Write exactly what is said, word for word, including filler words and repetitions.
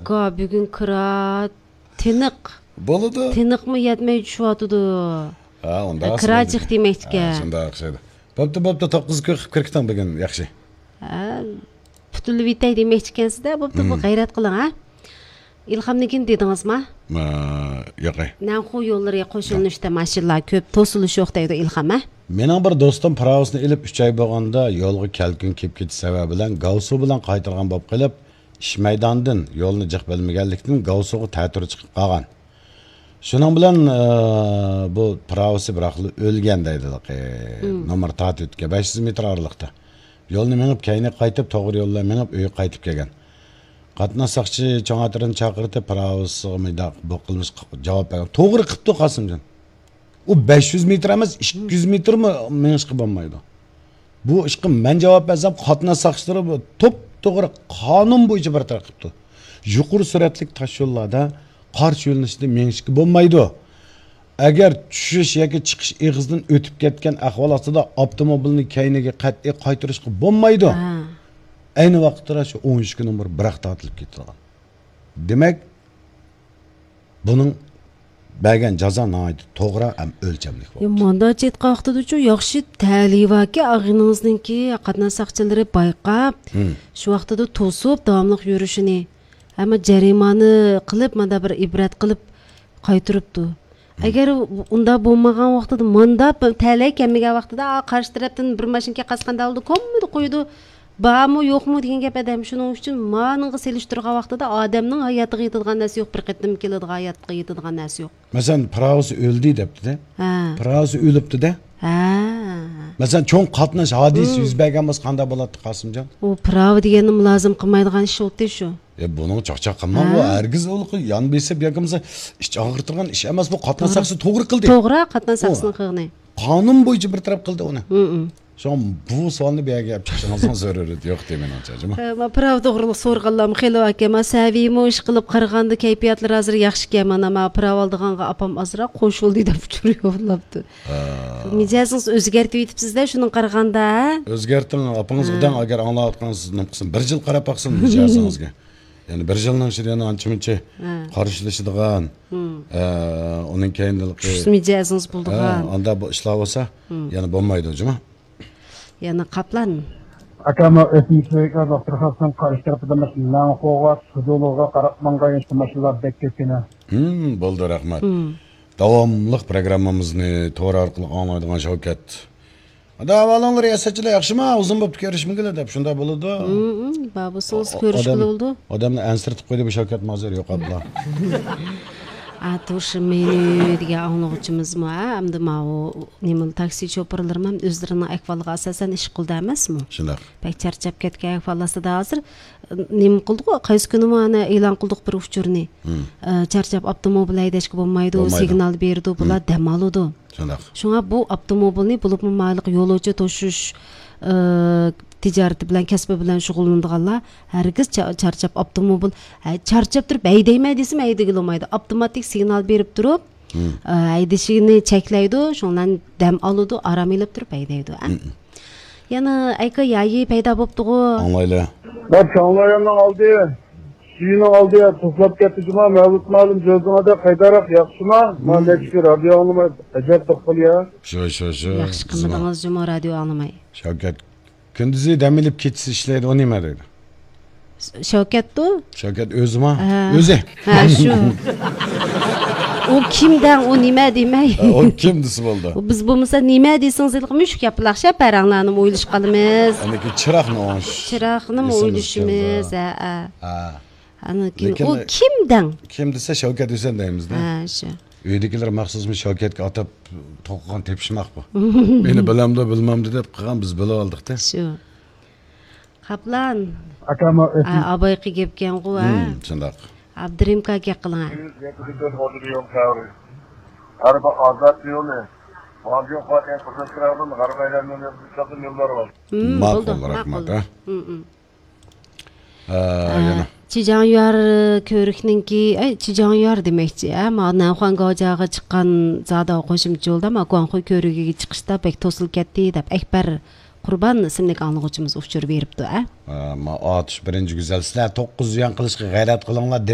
ئاكا، بۈگۈن كىرا تىنىق. بولىدۇ. تىنىقمۇ يەتمەي چۈشۈۋاتىدۇ. ھە، ئۇنداق ھە، كىرا ئوخشايدۇ. جىق دېمەكتىكەن. ھە، شۇنداق ئوخشايدۇ. بوپتۇ، بوپتۇ، توققۇزغا كىرىپ كىرىكتىڭ بۈگۈن، ياخشى. ھە، پۈتۈلۈۋېتەي دېمەكچىكەنسىز-دە، بوپتۇ، بۇ مم. غەيرەت قىلىڭ، ھە. ئىلھامنىڭكىنى دېدىڭىزما؟ ما، ياقەي. نەنخۇ يوللىرى قوشۇلۇنۇشتا ماشىنىلار كۆپ، توسۇلۇش يوق دەيدۇ ئىلھام، ھە؟ مېنىڭ بىر دوستۇم پىراۋىسىنى ئېلىپ ئۈچ ئاي بولغاندا يولغا كەلكۈن كېلىپ كېتىش سەۋەبى بىلەن گاۋسۇ بىلەن قايتۇرغان بولۇپ قېلىپ، ئىش مەيدانىدىن يولنى جىق بىلمىگەنلىكتىن گاۋسۇغا تەتۈر چىقىپ قالغان. شۇنىڭ بىلەن، ئى، بۇ پىراۋىسى بىراقلا ئۆلگەن دەيدۇ، ھېلىقى مم. نومۇر تارتىۋېتىپتىكەن، بەش يۈز مېتىر ئارىلىقتا. يولنى مېڭىپ، كەينىگە قايتىپ، توغرا يول بىلەن مېڭىپ، ئۆيگە قايتىپ كەلگەن. قاتناش ساقچى چوڭ ئاتىرىنى چاقىرتىپ، پىراۋىسىغا مۇنداق بۇ قىلمىشقا جاۋاب بەرگەن. توغرا قىپتۇ، قاسىمجان. ئۇ بەش يۈز مېتىر ئەمەس، ئىككى يۈز مېتىرمۇ مېڭىشقا بولمايدۇ. بۇ ئىشقا مەن جاۋاب بەرسەم، قاتناش ساقچىلىرى بۇ توپتوغرا قانۇن بويىچە بىر تەرەپ قىپتۇ. يۇقىرى سۈرئەتلىك تاش يوللاردا قارشى يۆنىلىشتە مېڭىشكە بولمايدۇ. ئەگەر چۈشۈش ياكى چىقىش ئېغىزىدىن ئۆتۈپ كەتكەن ئەھۋال ئاستىدا ئاپتوموبىلنى كەينىگە قەتئىي قايتۇرۇشقا بولمايدۇ. ھە. ئەينى ۋاقىتتا شۇ ئون ئۈچ نومۇر بىراق تارتىلىپ كېتىدىغان. دېمەك، بۇنىڭ بەرگەن جازا ناھايىتى توغرا ھەم ئۆلچەملىك يا، بولدى. مانداچە ئېيتقان ۋاقتىدىچۇ، ياخشى تەلىي باركى، ئاغىنىڭىزنىڭكى قاتناش ساقچىلىرى بايقاپ، ھىم. شۇ ۋاقتىدا توسۇپ، داۋاملىق يۈرۈشىنى، ئەمما جەرىمانە قىلىپ، ماندا بىر ئىبرەت قىلىپ قايتۇرۇپتۇ. ھىم. ئەگەر ئۇنداق بولمىغان ۋاقتىدا، ماندا تەلەي كەلمىگەن ۋاقتىدا، ئا، قارشى تەرەپتىن بىر ماشىنا كېلىپ قالسا قانداق بولىدۇ؟ كوممىدە قويىدۇ. بارمۇ، يوقمۇ دېگەن گەپ ئادەم. شۇنىڭ ئۈچۈن مانىڭغا سېلىشتۇرغان ۋاقتىدا ئادەمنىڭ ھاياتىغا يېتىدىغان نەرسە يوق، بىر قېتىم كېلىدىغان ھاياتقا يېتىدىغان نەرسە يوق. مەسىلەن، پىراۋىسى ئۆلدى دەپتۇ-دە. ھە. پىراۋىسى ئۆلۈپتۇ-دە. ھە. مەسىلەن، چوڭ قاتناش ھادىسە يۈز بەرگەن بولسا قانداق بولاتتى، قاسىمجان؟ ئۇ پىراۋا دېگەننى مۇلازىم قىلمايدىغان ئىش بولدى شۇ. يا، بۇنىڭ چاقچاق قىلماڭ، ھە. ئۇ ھەرگىز ئۇ يان بېسىپ ياكى بولمىسا ئىچ ئاغرىتىدىغان ئىش ئەمەس، بۇ قاتناش ساقچىسى توغرا قىلدى. توغرا، قاتناش ساقچىسىنىڭ قىلغىنى. قانۇن بويىچە بىر تەرەپ قىلدى ئۇنى. شۇڭا بۇ سوئالنى بۇ يەرگە ئەپ چىقىشىڭىزنىڭ زۆرۈرىيىتى يوق دەيمەن، ئانچە جۇمۇ. ھە، ما پىراۋا توغرىلىق سورىغانلارمۇ خېلى باركەن. ما سەۋىيمۇ ئىشقىلىپ قارىغاندا كەيپىياتلىرى ھازىر ياخشىكەن. مانا ما پىراۋا ئالىدىغانغا ئاپام ئازراق خوش بولدى دەپ ئۇچۇر يوللاپتۇ. ھە. مىجەزىڭىز ئۆزگەرتىۋېتىپسىز-دە، شۇنىڭغا قارىغاندا، ھە؟ ئۆزگەرتىڭ، ئاپىڭىزغا دەڭ، ئەگەر ئاڭلاۋاتقان سىز نېمە قىلسۇن، بىر يىل قاراپ باقسۇن مىجەزىڭىزگە. يەنى بىر يىلنىڭ ئىچىدە يەنە ئانچە-مۇنچە ھە. قارشىلىشىدىغان، ھىم. ئە، ئۇنىڭ كەينىدىن چۈشۈس مىجەزىڭىز بولىدىغان. ھە، ئاندا بۇ ئىشلار بولسا، ھىم. يەنە بولمايدۇ، جۇمۇ. يەنە قاپلان. ئاكا، مەن ئۆسمۈشلۈككە دوختۇرخانىسىنىڭ قارشى تەرىپىدە مۇشۇ لەڭخۇغا، سۇدۇلۇغا قاراپ ماڭغان ياشتا ماشىنىلار بەك كۆپ كېلە. ھىم، بولدى، رەھمەت. ھىم. داۋاملىق پروگراممىمىزنى تور ئارقىلىق ئاڭلايدىغان شەۋكەت. ئادا، ئەھۋالىڭلار، رىياسەتچىلەر ياخشىما؟ ئۇزۇن بوپتۇ كۆرۈشمىگىلى دەپ شۇنداق بولىدۇ. ھىم، ھىم، بار بولسىڭىز ئا-، كۆرۈشكىلى ئادەم، بولىدۇ. ئادەمنى ئەنسىرىتىپ قويدى بۇ شەۋكەتمۇ ھازىر يوقاپلا. ئاتۇش مېنى دېگەن ئاڭلىغۇچىمىزمۇ، ھە، ئەمدى ماۋۇ نېمە، تاكسى شوپۇرلىرىمۇ ھەم ئۆزلىرىنىڭ ئەھۋالىغا ئاساسەن ئىش قىلىدۇ ئەمەسمۇ؟ شۇنداق. بەك چارچاپ كەتكەن ئەھۋال ئاستىدا ھازىر، نېمە قىلدۇق، قايسى كۈنىمۇ ئانا ئېلان قىلدۇق بىر ئۇچۇرنى. ھىم. ئە، چارچاپ ئاپتوموبىل ھەيدەشكە بولمايدۇ، بولمايدۇ. سىگنال بېرىدۇ، بۇلار ھىم. دەم ئالىدۇ. شۇنداق. شۇڭا بۇ ئاپتوموبىلنى، بولۇپمۇ مايلىق يولۇچى توشۇش، ئى، تىجارىتى بىلەن، كەسپى بىلەن شۇغۇللىنىدىغانلار ھەرگىز چا-، چارچاپ ئاپتوموبىل، ھە، چارچاپ تۇرۇپ ھەيدەيمەن دېسىمۇ ھەيدىگىلى بولمايدۇ. ئاپتوماتىك سىگنال بېرىپ تۇرۇپ، ھىم. ئى، ھەيدىشىنى چەكلەيدۇ، شۇنىڭ بىلەن دەم ئالىدۇ، ئارام ئېلىپ تۇرۇپ ھەيدەيدۇ، ھە. ھىم. يەنە ئەيكا يايى پەيدا بوپتىغۇ. ئاڭلايلى. بەك ئاڭلايمەن ئالدى. سۈيىنىڭ ئالدى توسلاپ كەتتى جۇما، مەۋلۇت مۇئەللىم جۆزىڭىدە قايداراق ياخشىما؟ مەن نەچچە كۈن رادىيو ئاڭلىماي، ئەجەب توققۇل يا. شۇ، شۇ، شۇ. ياخشى قىلمىدىڭىز جۇما رادىيو ئاڭلىماي. شەۋكەت كۈندۈزى دەم ئېلىپ، كېچىسى ئىشلەيدۇ، ئۇ نېمە دەيدۇ؟ شەۋكەتتۇ؟ شەۋكەت ئۆزىما؟ ھە. ئۆزى. ھە، شۇ. ئۇ كىم دەڭ، ئۇ نېمە دېمەي. ئۇ كىم دېسە بولدى. بىز بولمىسا نېمە دېسىڭىز، ھېلىقى مۈشۈك ياپىلاق شەپەرەڭلارنىمۇ ئويلىشىپ قالىمىز. ئاندىن كېيىن چىراغنى ئوڭش-، چىراغنىمۇ ئېسىمىز ئويلىشىمىز، كەلدى. ھە، ھە. ھە. ئاندىن كېيىن لېكىن ئۇ كىم دەڭ؟ كىم دېسە شەۋكەت ھۈسەن دەيمىز-دە. ھە، شۇ. ئۆيدىكىلەر مەخسۇسمۇ شەۋكەتكە ئاتاپ توقۇغان تېپىشماق بۇ. مېنى بىلەمدۇ، بىلمەمدۇ دەپ قىلغان، بىز بىلىۋالدۇق-دە. شۇ. قاپلان. ئاكا، ما-، ئا، ئابايقى گەپكەنغۇ، ھە؟ ھىم، شۇنداق. ئابدۇرېھىم كاكا گەپ قىلىڭ، ھە. ھەر بىر ئازاد يولى. ماجۇ قاتەن قىزىل چىراغدىن غەرب ئايلانما يوللار بار. ھىم، ماقۇل، بولدى، رەھمەت، ماقۇل. ھە. ھىم، ھىم. ھە، ھە، يەنە. چىجاڭيۈەر كۆۋرۈكنىڭكى، ئەي، چىجاڭيۈەر دېمەكچى، ھە، ما نەنخۇەن گاۋجياغا چىققان زاداۋ قوشۇمچە يولدا، ما گۇاڭخۇي كۆۋرۈكىگە چىقىشتا بەك توسۇلۇپ كەتتى دەپ، ئەكبەر قۇربان ئىسىملىك ئاڭلىغۇچىمىز ئۇچۇر بېرىپتۇ، ھە. ھە، ما ئاتۇش بىرىنچى گۈزەل، سىلەر توققۇز يۈەن قىلىشقا غەيرەت قىلىڭلار،